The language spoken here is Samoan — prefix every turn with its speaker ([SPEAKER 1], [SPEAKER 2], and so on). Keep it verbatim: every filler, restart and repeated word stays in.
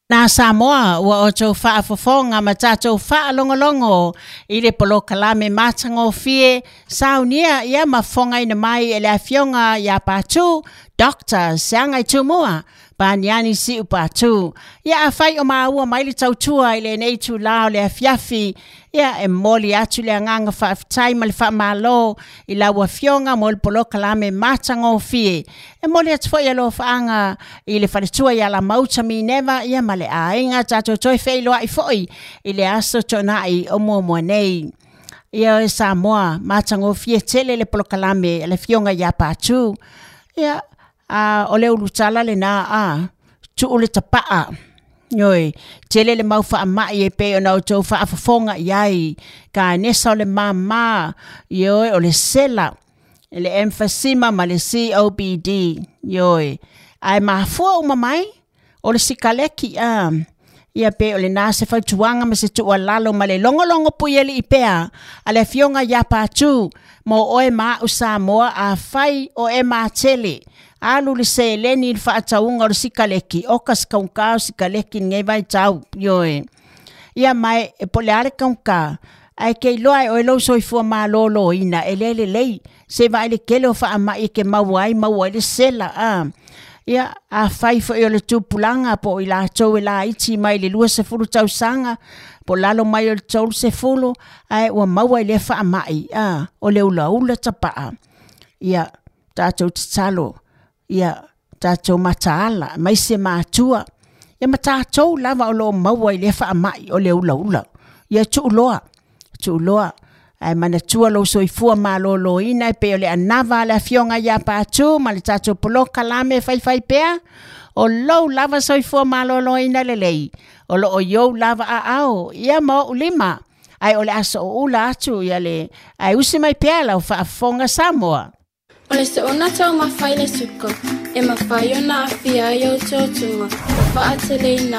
[SPEAKER 1] Na Samoa ua outou faafofoga ma tatou faalogologo i le polokalame matagofie saunia ia ma fofogaina mai e le afioga ia Patu Doctor Seagai Tumua Paniani Siu Patu. Ia afai o maua mai le tautua i lenei itulā o le afiafi, ia e momoli atu le agaga faafetai ma le faamalo i lau afioga mo le polokalame matagofie. E momoli atu foi alofaaga i le faletua ia Lamauta Mineva ia ma le aiga, tatou toe feiloai foi i le aso Toonai o muamua nei. Ia e Samoa, matagofie tele le polokalame a le afioga ia Patu. Ia a o le ulutala lena a tuu le tapaa. Ioe, tele le mau faamai e pei ona outou faafofoga i ai, kanesa o le māmā, ioe, o le sela, le emphysema ma le C O P D, ioe. Ae mafua uma mai o le sikaleki a ia pe o le na se fautuaga ma se tuualalo ma le logologo puialii pea a le afioga ia Patu mo oe ma a'u Samoa. Afai o e matele alu le seleni i le faatauga o le sikaleki, oka se kaugā o sikaleki lenei vaitau, ioe. Ia mae e po o le a le kaugā, ae ke iloa e oe lou soifua malōlōina e lē lelei, se vaai le tele o faamai e ke maua ai maua ai le sela a. Ia afai foi o le tupulaga po o i latou e laiti mai le luasefulu tausaga po o lalo mai o le tolusefulu ae ua maua i lea faamai a o le ulaula tapaa. Ia tatou tatalo, ia tatou mataala aemaise matua, ia ma tatou lava o loo maua i lea faamai o le ulaula. Ia tuuloa, tuuloa ae manatua lou soifua malōlōina e pei o le anava a le afioga ia Patu ma le tatou polokalame faifai pea, o lou lava soifua malōlōina lelei o loo i ou lava aao ia ma ou lima, ae o le aso oula atu ia le ae usi mai pea lau faafofoga Samoa.
[SPEAKER 2] O le soona taumafa i le suka, e mafai ona aafia ai ou tuatuga, ua faateleina